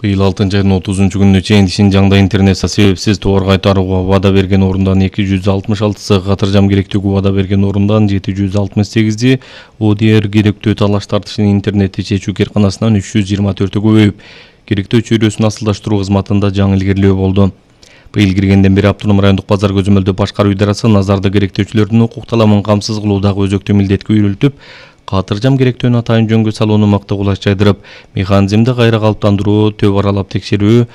Быйыл 6-айдын 30-күнүнө чейин Шинжаңда интернетте себепсиз товар кайтарууга убада берген орундан 266-сы, катыржам керектүүгө убада берген орундан 768-и, ОДР керектөө талаш тартышын интернетте чечүү керканасынан 324-ө көбөйүп, керектөө чөйрөсүн асылдаштыруу кызматында жаңы илгерилөө болду. Быйыл киргенден бери Автоном райондук базар көзөмөлдөө башкаруу идарасы назарды керектөөчүлөрдүн укук таламын камсыз кылуудагы өзөктүү милдетке үйрөлтүп, катыржам керектөөнү атайын жөнгө салууну макта кулаш жайдырып, механизмди кайра калыптандыруу, төп аралап текшерүү,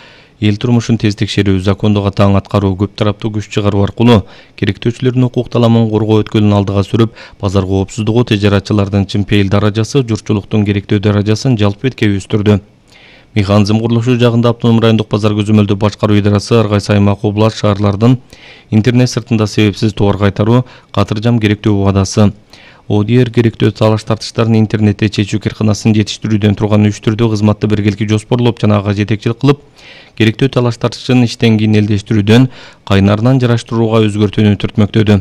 эл турмушун тез текшерүү, закондук таң аткаруу, көп тараптуу күч чыгаруу аркылуу керектөөчүлөрдүн укук таламын коргоо өткөлүн алдыга сүрүп, базар коопсуздугу, тежаратчылардын чымпейил даражасы, журтчулуктун керектөө даражасын жалпы бетке өстүрдү. Механизм курулушу жагында Автоном райондук базар көзөмөлдөө башкаруу идарасы ар кайсы аймак, област, шаарлардын интернет сыртында себепсиз товар кайтаруу, катыржам керектөө убадасы, ОДР керектөө талаш тартыштарын интернетте чечүү керканасын жетиштирүүдөн турган 3 түрдүү кызматты биргеликте жоспорлоп жана ага жетекчилик кылып, керектөө талаш тартышын иштен кийин элдештирүүдөн, кайнарынан жараштырууга өзгөртүүнү түртмөктөдү.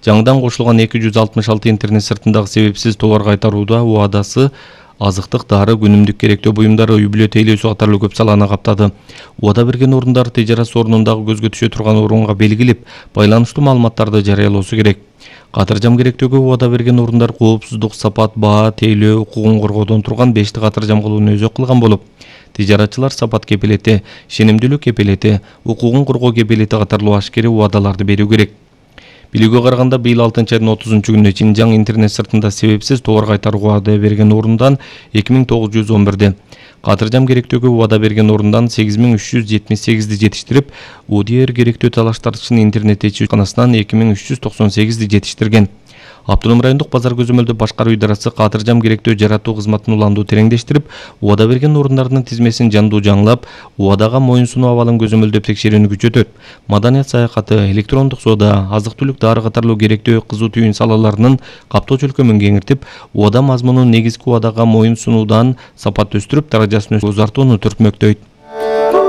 Жаңыдан кошулган 266 интернет сыртындагы себепсиз товар кайтарууда убадасы азыктык, дары, күнүмдүк керектөө буюмдары, үй-бүлө тейлөөсү катарлуу көп саланы каптады. Убада берген орундар тежарат орнундагы көзгө түшө турган орунга белгилеп, байланыштуу маалыматтарды жарыялоосу керек. Катыржам керектөөгө убада берген орундар коопсуздук, сапат, баа, тейлөө укугун коргоодон турган 5 катыржам кылууну өзөк кылган болуп, тежаратчылар сапат кепилети, ишенимдүүлүк кепилети, укугун коргоо кепилети катарлуу ашкери убадаларды берүү керек. Билүүгө караганда быйыл 6-айдын 30-күнүнө Шинжаң интернет сыртында себепсиз товар кайтарууга убада берген орундан 2911-ди, катыржам керектөөгө убада берген орундан 8378-ди жетиштирип, ОДР керектөө талаш тартышын интернетте чечүү керканасынан 2398-ди жетиштирген. Автоном райондук базар көзөмөлдөө башкаруу идарасы катыржам керектөө жаратуу кызматын уландуу тереңдештирип, убада берген орундардын тизмесин жандуу жаңылап, убадага моюн сунуу абалын көзөмөлдөп текшерүүнү күчөтөт. Маданият саякаты, электрондук соода, азык-түлүк, дары катарлуу керектөө кызуу түйүн салаларынын каптоо чөлкөмүн кеңиртип, убада мазмунун негизги убадага моюн сунуудан сапат өстүрүп, даражасын өзартууну түртмөктөйт.